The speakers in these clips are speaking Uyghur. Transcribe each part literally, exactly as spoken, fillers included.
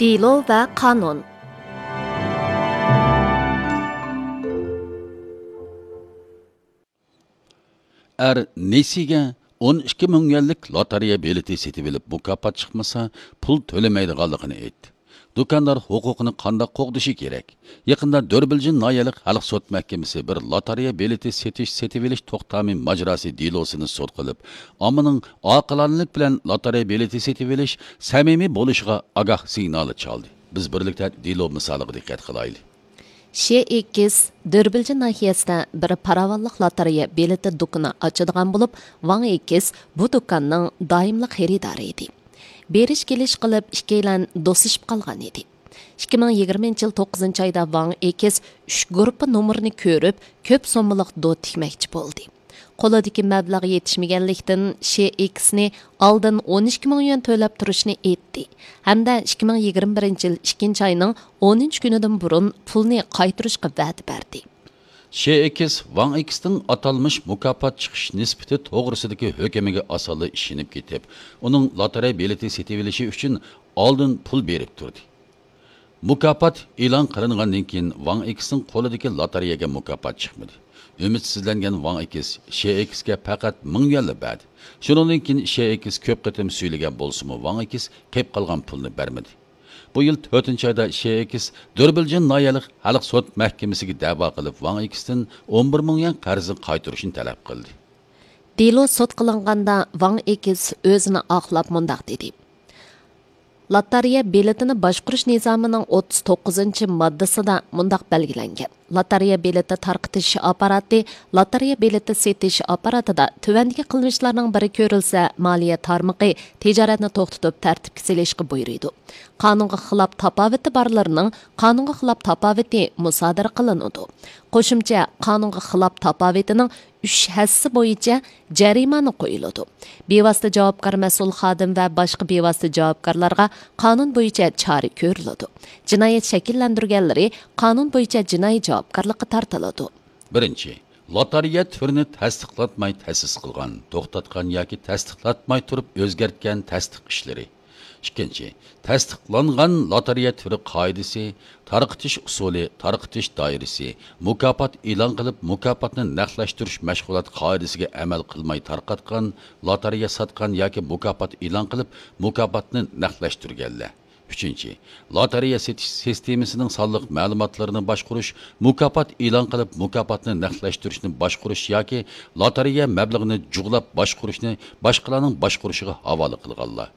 دېلو ۋە قانۇن. ئەر نېسىگە ئون ئىككى مىڭ يۈەنلىك لوتارېيە بېلىتى سېتىۋېلىپ، مۇكاپات چىقمىسا، پۇل تۆلىمەيدىغانلىقىنى ئېيتتى. دۇكاندار ھوقۇقىنى قانداق قوغدىشى كېرەك؟ يېقىندا دۆربىلجىن ناھىيەلىك خەلق سوت مەھكىمىسى بىر لوتارېيە بېلىتى سېتىش، سېتىۋېلىش توختامى ماجىراسى دېلوسىنى سوت قىلىپ، ئاممىنىڭ ئاقىلانىلىك بىلەن لوتارېيە بېلىتى سېتىۋېلىش سەمىمىي بولۇشىغا ئاگاھ سىگنالى چالدى. بىز بىرلىكتە دېلو مىسالىغا دىققەت قىلايلى. شې ئېكس دۆربىلجىن ناھىيەسىدە بىر پاراۋانلىق لوتارېيە بېلىتى دۇكىنى ئاچىدىغان بولۇپ، ۋاڭ ئېكس بۇ دۇكاننىڭ دائىملىق خېرىدارى ئىدى. بېرىش كېلىش قىلىپ، ئىككىيلەن دوستلىشىپ قالغان ئىدى. ئىككى مىڭ يىگىرمىنچى يىل توققۇزىنچى ئايدا ۋاڭ ئېكس ئۈچ گۇرۇپپا نومۇرىنى كۆرۈپ، كۆپ سوممىلىق دو تىكمەكچى بولدى. قولىدىكى مەبلەغ يېتىشمىگەنلىكتىن، شې ئېكسنى ئالدىن ئون ئىككى مىڭ يۈەن تۆلەپ تۇرۇشنى ئېيتتى ھەمدە ئىككى مىڭ يىگىرمە بىرىنچى يىل ئىككىنچى ئاينىڭ ئونىنچى كۈنىدىن بۇرۇن پۇلنى قايتۇرۇشقا ۋەدە بەردى. شې ئېكس ۋاڭ ئېكستىڭ ئاتالمىش مۇكاپات چىقىش نىسبىتى توغرىسىدىكى ھۆكۈمىگە ئاسانلا ئىشىنىپ كېتىپ، ئۇنىڭ لوتارېيە بېلىتى سېتىۋېلىشى ئۈچۈن ئالدىن پۇل بېرىپ تۇردى. مۇكاپات ئېلان قىلىنغاندىن كېيىن، ۋاڭ ئېكستىڭ قولىدىكى لوتارېيەگە مۇكاپات چىقمىدى. ئۈمىدسىزلەنگەن ۋاڭ ئېكس شې ئېكسكە پەقەت مىڭ يۈەنلا بەردى. شۇنىڭدىن كېيىن شې ئېكس كۆپ قېتىم سۈيلىگەن بولسىمۇ، ۋاڭ ئېكس قېلىپ قالغان پۇلنى بەرمىدى. بۇ يىل تۆتىنچى ئايدا شې ئېكس دۆربىلجىن ناھىيەلىك خەلق سوت مەھكىمىسىگە دەۋا قىلىپ، ۋاڭ ئېكستىن ئون بىر مىڭ يۈەن قەرزنى قايتۇرۇشنى تەلەپ قىلدى. دېلو سوت قىلىنغاندا، ۋاڭ ئېكس ئۆزىنى ئاقلاپ مۇنداق دېدى: لاتارىيە بېلىتىنى باشقۇرۇش نىزامىنىڭ ئوتتۇز توققۇزىنچى ماددىسىدا مۇنداق بەلگىلەنگەن: لاتارىيە بېلىتى تارقىتىش ئاپپاراتى لاتارىيە بېلىتى سېتىش ئاپپاراتىدا تۆۋەندىكى قىلمىشلارنىڭ بىرى كۆرۈلسە، مالىيە تارمىقى تىجارەتنى توختىتىپ تەرتىپكە سېلىشقا بۇيرۇيدۇ. قانۇنغا خىلاپ تاپاۋىتى بارلىرىنىڭ قانۇنغا خىلاپ تاپاۋىتى مۇسادىرە قىلىنىدۇ. قوشۇمچە قانۇنغا خىلاپ تاپاۋىتىنىڭ ئۈچ ھەسسىسى بويىچە جەرىمانە قويۇلىدۇ. بىۋاسىتە جاۋابكار مەسئۇل خادىم ۋە باشقا بىۋاسىتە جاۋابكارلارغا قانۇن بويىچە چارە كۆرۈلىدۇ. جىنايەت شەكىللەندۈرگەنلىرى قانۇن بويىچە جىنايى جاۋابكارلىققا تارتىلىدۇ. بىرىنچى، لوتارېيە تۈرىنى تەستىقلاتماي تەسىس قىلغان، توختاتقان ياكى تەستىقلاتماي تۇرۇپ ئۆزگەرتكەن تەستىق ئىشلىرى. ئىككىنچى، تەستىقلانغان لوتارېيە تۈرى قائىدىسى، تارقىتىش ئۇسۇلى، تارقىتىش دائىرىسى، مۇكاپات ئېلان قىلىپ، مۇكاپاتنى نەقلەشتۈرۈش مەشغۇلات قائىدىسىگە ئەمەل قىلماي تارقاتقان لوتارېيە ساتقان ياكى مۇكاپات ئېلان قىلىپ، مۇكاپاتنى نەقلەشتۈرگەنلەر. ئۈچىنچى، لوتارېيە سېتىش سىستېمىسىنىڭ سانلىق مەلۇماتلىرىنى باشقۇرۇش، مۇكاپات ئېلان قىلىپ، مۇكاپاتنى نەقلەشتۈرۈشنى باشقۇرۇش ياكى لوتارېيە مەبلىغىنى جۇغلاپ باشقۇرۇشنى باشقىلارنىڭ باشقۇرۇشىغا ھاۋالە قىلغانلار.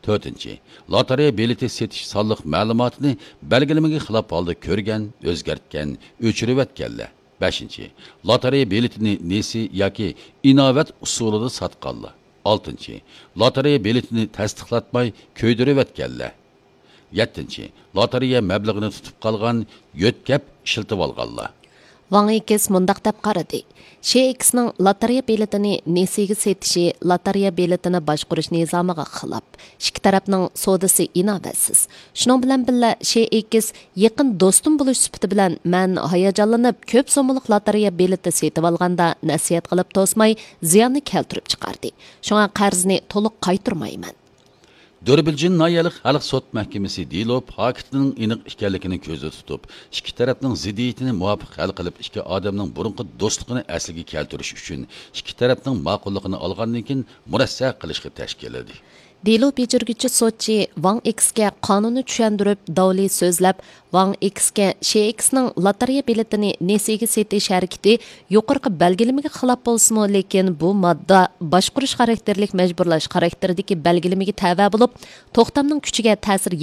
تۆتىنچى، لوتارېيە بېلىتى سېتىش سانلىق مەلۇماتىنى بەلگىلىمىگە خىلاپ ھالدا كۆرگەن، ئۆزگەرتكەن، ئۆچۈرۈۋەتكەنلەر. بەشىنچى، لوتارېيە بېلىتىنى نېسى ياكى ئىناۋەت ئۇسۇلىدا ساتقانلار. ئالتىنچى، لوتارېيە بېلىتىنى تەستىقلاتماي كۆيدۈرۈۋەتكەنلەر. يەتتىنچى، لوتارېيە مەبلىغىنى تۇتۇپ قالغان، يۆتكەپ ئىشلىتىۋالغانلار. ۋاڭ ئېكس مۇنداق دەپ قارىدى: شې ئېكسنىڭ لاتارىيە بېلىتىنى نېسىگە سېتىشى لاتارىيە بېلىتىنى باشقۇرۇش نىزامىغا خىلاپ. ئىككى تەرەپنىڭ سودىسى ئىناۋەتسىز. شۇنىڭ بىلەن بىللە، شې ئېكس يېقىن دوستۇم بولۇش سۈپىتى بىلەن مەن ھاياجانلىنىپ، كۆپ سوممىلىق لاتارىيە بېلىتى سېتىۋالغاندا نەسىھەت قىلىپ توسماي، زىياننى كەلتۈرۈپ چىقاردى. شۇڭا قەرزنى تولۇق قايتۇرمايمەن. دۆربىلجىن ناھىيەلىك خەلق سوت مەھكىمىسى دېلو پاكىتىنىڭ ئېنىق ئىكەنلىكىنى كۆزدە تۇتۇپ، ئىككى تەرەپنىڭ زىددىيىتىنى مۇۋاپىق ھەل قىلىپ، ئىككى ئادەمنىڭ بۇرۇنقى دوستلۇقىنى ئەسلىگە كەلتۈرۈش ئۈچۈن ئىككى تەرەپنىڭ ماقۇللۇقىنى ئالغاندىن كېيىن مۇرەسسە قىلىشقا تەشكىللىدى. دېلو بېجىرگۈچى سوتچى ۋاڭ ئېكسكە قانۇننى چۈشەندۈرۈپ، داۋلى سۆزلەپ، ۋاڭ ئېكسكە شې ئېكسنىڭ لاتارىيە بېلىتىنى نېسىگە سېتىش ھەرىكىتى يۇقىرىقى بەلگىلىمىگە خىلاپ بولسىمۇ، لېكىن بۇ ماددا باشقۇرۇش خاراكتېرلىك مەجبۇرلاش خاراكتېرىدىكى بەلگىلىمىگە تەۋە بولۇپ، توختامنىڭ كۈچىگە تەسىر